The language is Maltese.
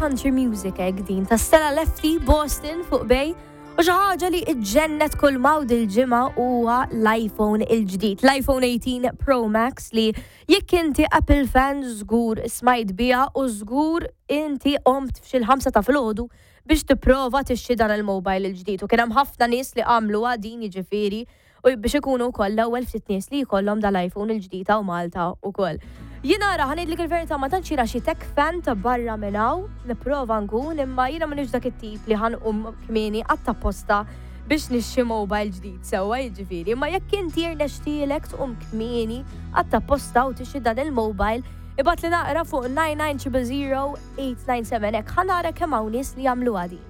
country music hekk din ta' Stella Lefty Boston fuq Bay. U xi ħaġa li ġġennet kull mawd il-ġimgħa huwa l-iPhone il-ġdid, l-iPhone 18 Pro Max li jekk inti Apple fan żgur smajt biha u żgur inti qomt f'xi l-5 ta' filgħodu biex tipprova tixtri dan il-mobile il-ġdid. U kien hemm ħafna nies li għamluha din, jiġifieri, u biex ikunu wkoll l-ewwel ftit nies li jkollhom dal-iPhone il-ġdid hawn Malta wkoll. Jiena ara, ħa ngħidlek il-verità, ma tantx jiena xi tech fan ta' barra minn hawn, nipprova nkun, imma jiena m'iniex dak it-tip li ħa nqum kmieni għat-tapposta biex nixtri mobile ġdid, sewwa jiġifieri. Imma jekk inti rnexxielek tqum kmieni għat-tapposta u tixtri dan il-mobile, ibgħatli naqra fuq 99 000 897 hekk ħa nara kemm hawn nies li jagħmluha din.